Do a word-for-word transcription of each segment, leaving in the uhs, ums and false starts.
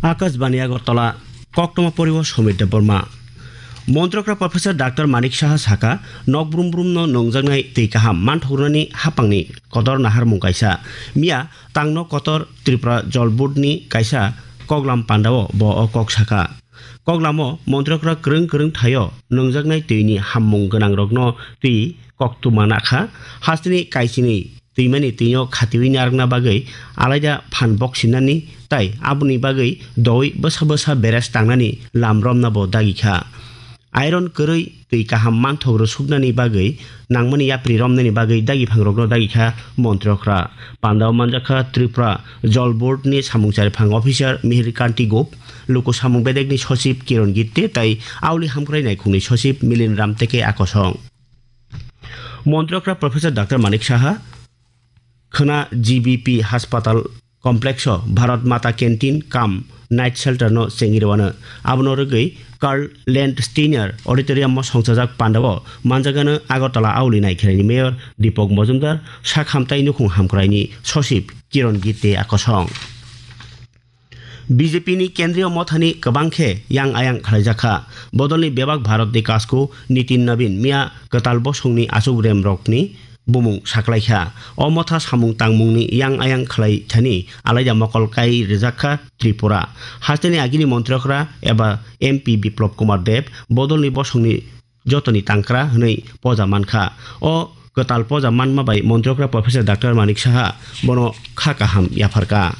Akashbani Agartala, koktoma poriwo Somit Debbarma. Montrokra Professor Doctor Manik Saha saka, nok brum brum no nongjaknai twi kaham manthoknani hapangni kotor naharmung kaisa. Miya tangno kotor Tripura Jol Board ni kaisa koklam pandao bo o kok saka. Koklamo montrokra kwrwng kwrwng thaio nongjaknai twi ni hammung gwnang rokno twi koktuma nakha, hasteni kaisini twimani twino khatiwi narwkna bagwi alaida phan bok sinani tai aboni bagwi doi bwsa bwsa beres tangnani lam romna bo dagi kha. Iron kwrwi twi kaham manthok rwsuknani bagwi nangmani yapri romnani bagwi dagi phangrokno dagi kha montrokra. Pandao manjakha Tripura Jol Board ni samung chariphang officer Mihir Kanti Gup, luku samung bedekni sosip Kiron Gitte tai auli hamkrai naikhungni sosip Milin Ramteke akosong. Montrokra Professor Doctor Manik Saha khwna G B P Haspatal Complex o Bharat Mata Canteen cum Night Shelter no chengirwano. Abono rwgwi Karl Landsteiner Auditorium o songchajak pandao manjagano Agartala auli naikhelai ni Mayor Deepak Majumdar, sakhamtai nukhung hamkrai ni sosip Kiron Gitte akosong. B J P ni Kendriya Mothani kwbang khe yang ayang khlaijakha. Bodolni bebak Bharatni kasku Nitin Nabin miya kwtal bosongni achuk remrokni bumung saklaikha. O motha samung tangmungni yang ayang khlai thani alaida mokol kai rijakha Tripura. Hasteni agini montrokra eba M P Biplop Kumar Deb bodolni bosongni jotoni tangkra hwnwi poja mankha. O kwtal poja manma bai montrokra Professor Doctor Manik Saha bono kha kaham yapharkha.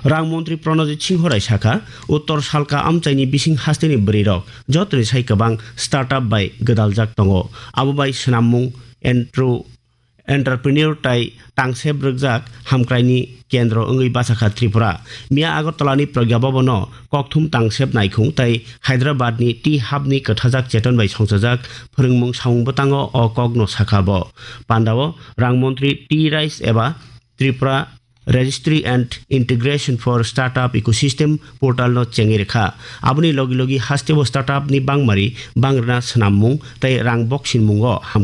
Rang montri Pranajit Singho Rai sakha, Uttor Salka amchaini bising hasteni bwrwirok jotoni sai kwbang startup bai gwdaljak tongo. Abo bai swnammung, entru-, entrepreneur tai tangsep rwkjak hamkraini kendro wngwi bachakha Tripura. Miya Agartalani Pragya Bhavan-o kokthum tangsep naikhung tai Hyderabadni Tea Hub-ni kwthajak cheton bai songchajak phwrwngmung samung bwtango o kokno sakha bo. Pandao rang montri Tea Rice eba Tripura Registry and Integration for Startup Ecosystem portal no chengwi rwkha. Aboni logi logi hasteo startup ni bangmari bangrwna swnammung tei rang boksinmungo ham